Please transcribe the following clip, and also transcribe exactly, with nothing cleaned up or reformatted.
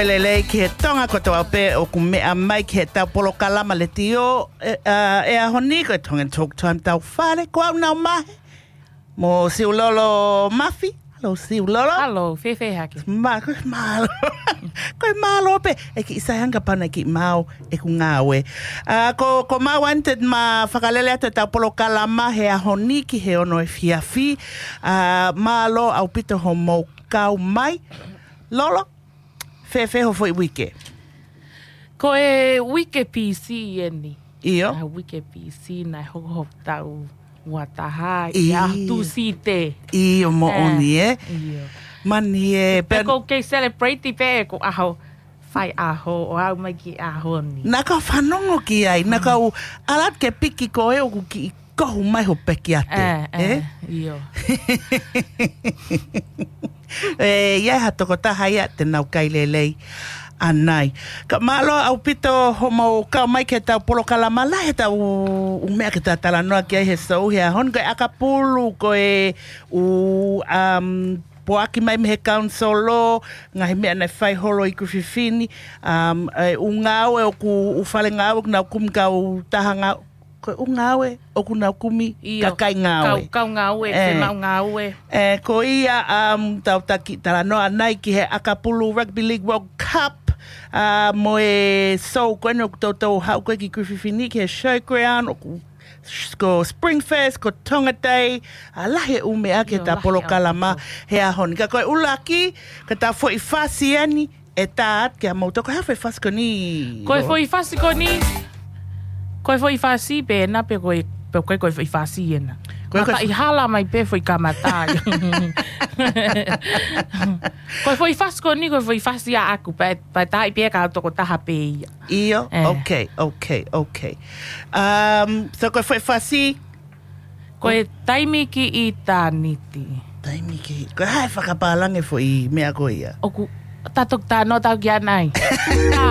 Lelei ki he Tonga kotoa pē ʻoku meʻa mai ki heʻetau polokalama letiō, ē, ʻa, ʻi he ʻaho ni ko e Tongan Talk Time tau fale, ko au Nau Mahe. Mo Siulolo Mafi. Hello, Siulolo. Hello, fēfē hake? Mā, ko e mālō. Ko e mālō pē. ʻE kiʻi sai ange kapau naʻe kiʻi maau ʻeku ngāue. ʻA, ko, ko Mā Wanted ma fakalele atu ʻetau polokalama he ʻaho ni ki he ono efiafi. ʻA, mālō ʻaupito hoʻomou kau mai. Lolo, fēfē ho foʻi uike? Ko e uike P C eni. ʻIo. ʻA, uike P C naʻe hoko hoku tau ua taha ʻi ʻIo. ʻAho Tūsite. ʻIo, moʻoni, ē? ʻIo. Mani ē, pē pea ʻoku ou kei celebrate pē ʻeku ʻaho faiʻaho ʻo aʻu mai ki he ʻaho ni. Naʻa kau fanongo ki ai, naʻa kau ʻalu atu ke piki koe ʻoku kiʻi kohu mai ho pekiate, ʻĒ, ʻē? ʻĒ, ʻio. ʻE, ʻi ai ha tokotaha ia te nau kai lelei ʻanai. Ka mālō ʻaupito hoʻomou kau mai ki heʻetau polokalama, lahi ʻetau ʻū meʻa ke ta talanoa ki ai he sou he ʻaho ni, ko e ʻakapulu, ko e ʻū, um, poaki mai mei he council, ngaahi meʻa naʻe fai holo ʻi Kuififini, um, e ʻū ngāue ʻoku, ʻū fale ngāue ʻoku nau kumi, kautaha ngā-, ko e ʻū ngāue ʻoku nau kumi, ʻIo. kakai ngāue. Kau, kau ngāue, ʻĒ. Fiemaʻu ngāue. ʻĒ, ko ia, um, tau taki talanoa ʻanai ki he ʻakapulu Rugby League World Cup, ʻa, mo e sou ko eni ʻoku toutou haʻu ko ē ki Kuififini ki he showground, ʻoku s-, ko Spring Fest, ko Tonga Day, ʻa, lahi e ʻū meʻa ke ʻIo, ta lahi e polokalama ʻaupito. he ʻaho ni. Ka ko e ʻuluaki, ko ʻetau foʻi fasi eni, ʻe tā atu kia moutolu, ko e hā e foʻi fasi ko eni? Ko e foʻi fasi ko eni, ko e foʻi fasi pē ena pe ko e, pe ko e, ko e foʻi fasi ena. Ko e, ko e Mataʻi hala mai pē foʻi kamata. Ko e foʻi fasi ko eni, ko e foʻi fasi ʻaʻaku, pea, pea tā pē kia au tokotaha pē ia. ʻIo, ʻĒ. okay, okay, okay. Um, so ko e foʻi fasi, Ko e taimi ki ʻitāniti. Taimi ki, ko e hā e fakapālangi e foʻi meʻa ko ia? ʻOku, ta toki talanoa atu ki ai ʻanai. ʻĀ,